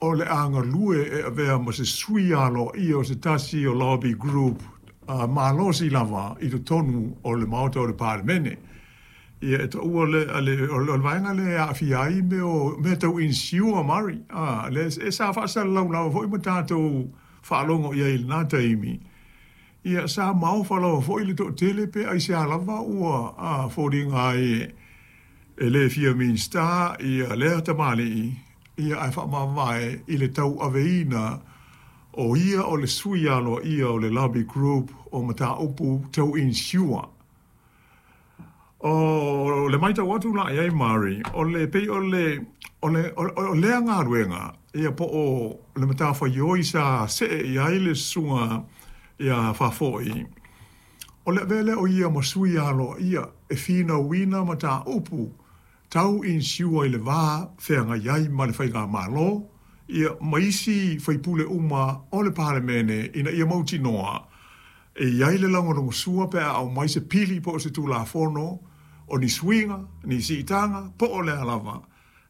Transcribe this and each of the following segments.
o le a galue e avea ma se sui aloaia o se tasi o lobby group malosi lava i totonu o le Maota o le Palemene. Ia, e taua le, o le vaega lea e aafia ai mea o mea tau insure, Murray, lea e sa faasalalau lava foi ma tatou faalogo i ai i lena taimi. Ia, sa maofa lava foi le toatele pe aisea lava ua foliga ai e le fia Minisita ia lea tamalii, ia ae faamavae i le tauaveina o ia o le sui aloaia o le lobby group o mataupu tau insure. O le matau atu la i ai, Murray, o le pei o lea galuega, ia po o le matafaioi sa see i ai le susuga ia Faafoi, o le avea lea o ia ma sui aloaia e finauina mataupu tau insure i le va feagai ai ma le faigamalo, ia ma isi faipule uma o le Palemene ina ia mautinoa e i ai le lagolagosua pe a aumai se pili po o se tulafono o ni suiga, ni siitaga, po o le a lava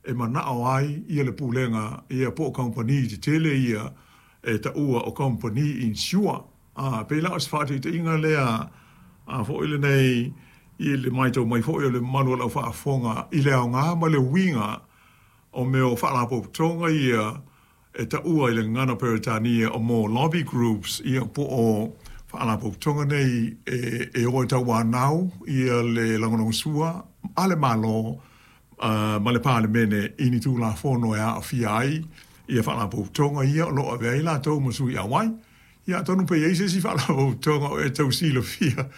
e manao ai ia le pulega, ia po o kamupani tetele ia e taua o kamupani insure. Pei la o se faataitaiga lea a foi lenei i le matau mai foi o le mamalu o lau faafofoga i le aoga ma le uiga o mea o faalapotopotoga ia e taua i le gagana Peretania o mo lobby groups, ia po o faalapotopotoga nei e o e tauanau ia le lagolagosua a le Malo ma le Palemene i ni tulafono e aafia ai ia faalapotopotoga ia o lo o avea ai latou ma sui auai. Ia atonu pe i ai se isi faalapotopotoga o e tau silafia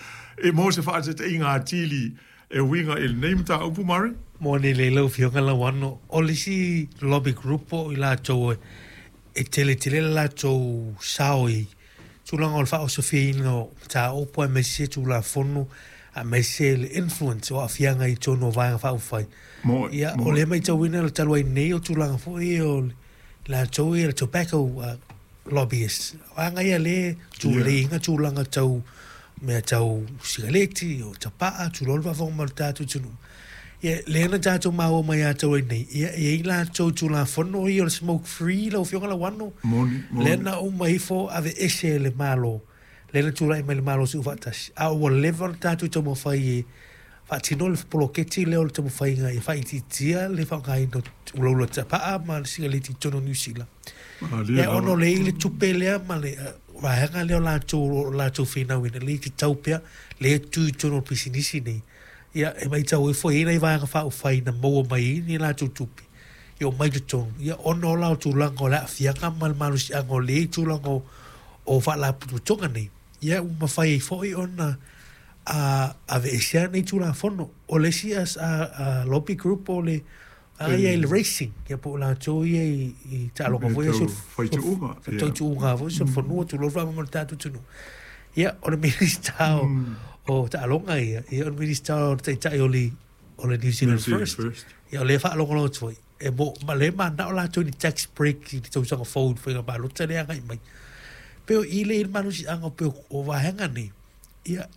e mo se faataitaiga atili e uiga i lenei mataupu, Murray? Moni lelei lau Afioga Lauano, o le isi lobby group o i latou e tele tele le latou sao i tulaga o le faaosofiaina o mataupu aemaise Tulafono aemaise le influence o aafiaga i totonu o Vaega Faaupufai. Ia, o lea e matauina le talu ai nei o tulaga foi o latou ia le tobacco lobbyists. Vaega ia lea e tuleiina tulaga tau mea tau sikaleti o tapaa, tulou le faafofoga mai o le tatou atunuu. Ia, lea na tatou maua mai ia talu ai nei, ia, e i ai latou Tulafono ia o le smoke free lau Afioga Lauano. Moni, moni. Lea na uma ifo aveese e le Malo, lea na tulai mai le Malo Soofaatasi, a ua leva ona tatou taumafai e faatino le poloketi lea o le taumafaiga ia faaitiitia le faaaogaina o ulaula tapaa ma le sikaleti i totonu o Niu Sila. Ia, ona o lea e i ai le tupe lea ma le vaega lea o latou finauina, lea e tatau pea, lea e tu i totonu o le pisinisi nei. Ia, e matau ifo e i ai nai vaega faaupufai na maua mai ai ni latou tupe, ia omai i totonu, ia ona o la o tulaga o le aafiaga ma le malosiaga o lea i tulaga o faalapotopotoga nei, ia ua mafai ai foi ona aveesea nei Tulafono. O le isi lobby group o le ia i le racing, ia po o latou ia i taaloga foi ia, faituuga foi solofanua, tulou le faafofoga mai o le tatou atunuu. Ia, o le Minisita o taaloga ia, ia o le Minisita o le Taitai o le New Zealand First. Ia o lea e faalogologo atu foi, e mo, ma lea e mananao latou i ni tax break i le tausaga fou i le faiga palota lea e agai mai. Pei o i lea e i ai le malosiaga pei o vaega nei, ia,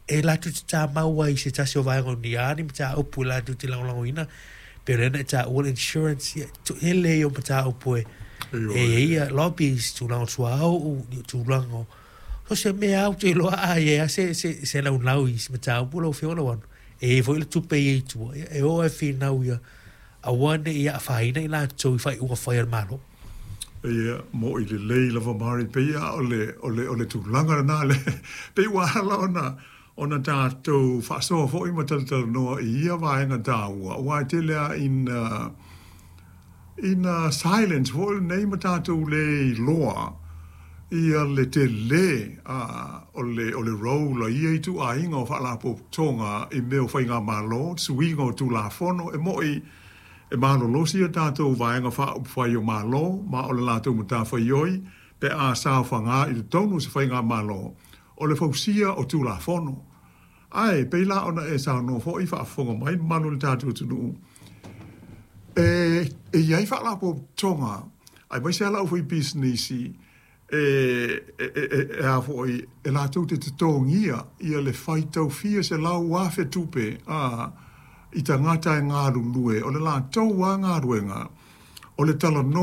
e latou te tamau ai i se tasi o vaega o ni a ni mataupu e latou te lagolagoina, pei o lea na e taua le insurance, ia, tele ia o mataupu e e i ai ia lobbies, tulaga o suauu, tulaga o so se mea ou te iloa a i ai lava se naunau i se mataupu lau Afioga Lauano, e i ai foi le tupe i ai i tua, ia, e o lava e finau ia aua ne i afaina i latou i faaiuga fai a le Malo. Ia, mo'i lelei lava Murray, pei lava o le tulaga lena le, pei ua ala ona tatou faasoa foi ma talatalanoa i ia vaega taua, aua e tele lava ina silence foi lenei ma tatou le iloa ia le tele o le role a ia ituaiga o faalapotopotoga i mea o faigamalo, suiga o Tulafono. E mo'i e malolosi a tatou Vaega Faaupufai o Malo, ma o le latou matafaioi pe a saofaga i totonu o se faigamalo o le fausia o Tulafono. Ae pei la ona e saunoa foi, faafofoga mai le mamalu o le tatou atunuu, e i ai faalapotopotoga aemaise lava le aufaipisinisi e a foi e latou te totogia ia le faitau fia selau afe tupe i tagata e galulue, o le latou a galuega o le talanoa.